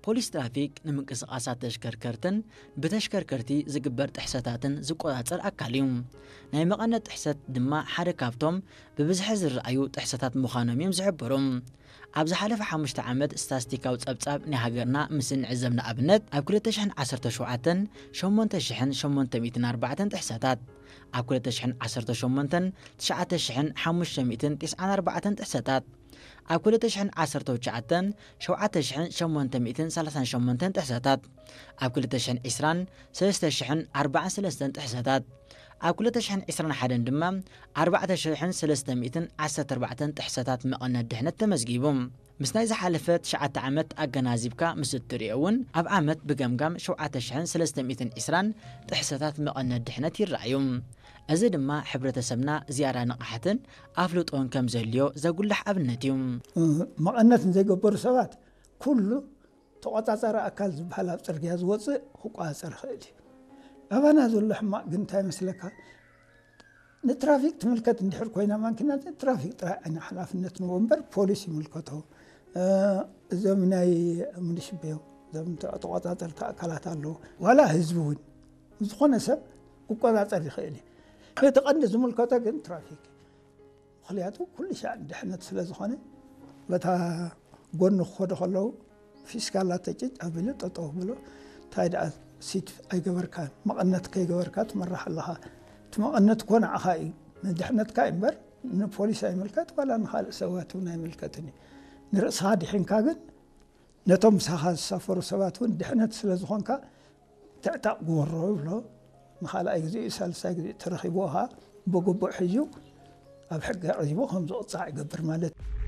ፖሊስ ትራፊክ ንምንቅስቓሳት ተሽከርከርትን ብተሽከርከርቲ ዝግበር ጥሕሰታትን ዝቆጻጸር ኣካል እዩ። ናይ መቐነት ጥሕሰት ድማ ሓደ ካብቶም ብብዝሒ ዝረኣዩ ጥሕሰታት ምዃኖም እዮም ዝሕብሩ። ኣብ ዝሓለፈ ሓሙሽተ ዓመት ስታስቲካዊ ጸብጻብ ናይ ሃገርና ምስ እንዕዘብ፣ ንኣብነት ኣብ ክልተ ሽሕን ዓሰርተ ሸውዓተን ሸሞንተ ሽሕን ሸሞንተ ሚእትን ኣርባዕተን ጥሕሰታት፣ ኣብ ክልተ ሽሕን ዓሰርተ ሸሞንተን ትሽዓተ ሽሕን ሓሙሽተ ሚእትን ቴስዓን ኣርባዕተን ጥሕሰታት፣ ኣብ ክልተ ሽሕን ዓሰርተ ትሽዓተን ሸውዓተ ሽሕን ሸሞንተ ሚእትን ሰላሳን ሸሞንተን ጥሕሰታት፣ ኣብ ክልተ ሽሕን ዕስራን ሰለስተ ሽሕን ኣርባዓን ሰለስተን ጥሕሰታት፣ ኣብ ክልተ ሽሕን ዕስራን ሓደን ድማ ኣርባዕተ ሽሕን ሰለስተ ሚእትን ዓሰርተ ኣርባዕተን ጥሕሰታት መቐነት ድሕነት ተመዝጊቡ። ምስ ናይ ዝሓለፈ ትሽዓተ ዓመት ኣገናዚብካ ምስ እትሪኦ እውን፣ ኣብ ዓመት ብገምጋም ሸውዓተ ሽሕን ሰለስተ ሚእትን ዕስራን ጥሕሰታት መቐነት ድሕነት ይረኣዩ። እዚ ድማ ሕብረተሰብና ዝያዳ ንቕሓትን ኣፍልጦን ከም ዘድልዮ ዘጉልሕ ኣብነት እዩ። መቐነት ንዘይገበሩ ሰባት ኩሉ ተቖጻጻሪ ኣካል ዝበሃል ኣብ ጽርግያ ዝወጽእ ክቆጻጸር ይኽእል እዩ። ኣባና ዘሎ ሕማቕ ግን እንታይ ይመስለካ? ንትራፊክ ትምልከት እንድሕር ኮይና ማኪና፣ ትራፊክ ጥራይ ዓይና ሓላፍነት ንዎ እምበር ፖሊስ ይምልከቶ። እ፣ እዞም ናይ ሙኒሽቤው፣ እዞም ተ-፣ ተቖጻጸርቲ ኣካላት ኣለዉ። ዋላ ህዝቢ እውን፣ ዝኾነ ሰብ ክቆጻጸር ይኽእል እዩ። እቲ ቀንዲ ዝምልከቶ ግን ትራፊክ እዩ። ምኽንያቱ ኩሉ ሻዕ ድሕነት ስለ ዝኾነ፣ በታ ጎኒ ክኸዱ ከለዉ ፊስካላ ተጭጭ ኣቢሉ ጠጠው ብሎ፣ እንታይ ደኣ ሲት ኣይገበርካን፣ መቐነት ከይገበርካ ትመራሕ ኣለኻ። እቲ መቐነት እኮ ንዓኻ እዩ፣ ንድሕነትካ እዩ እምበር ንፖሊስ ኣይምልከት፣ ዋላ ንኻልእ ሰባት እውን ኣይምልከትን እዩ። ንርእስኻ ድሒንካ ግን ነቶም ምሳኻ ዝሳፈሩ ሰባት እውን ድሕነት ስለ ዝኾንካ ትዕጣቕ ግበሮ ይብሎ። ንኻልኣይ ግዜ፣ ሳልሳይ ግዜ ተረኺብዎ ኸዓ ብግቡእ ሒዙ ኣብ ሕጊ ኣቕሪቡ ከም ዝቕጻዕ ይገብር ማለት እዩ።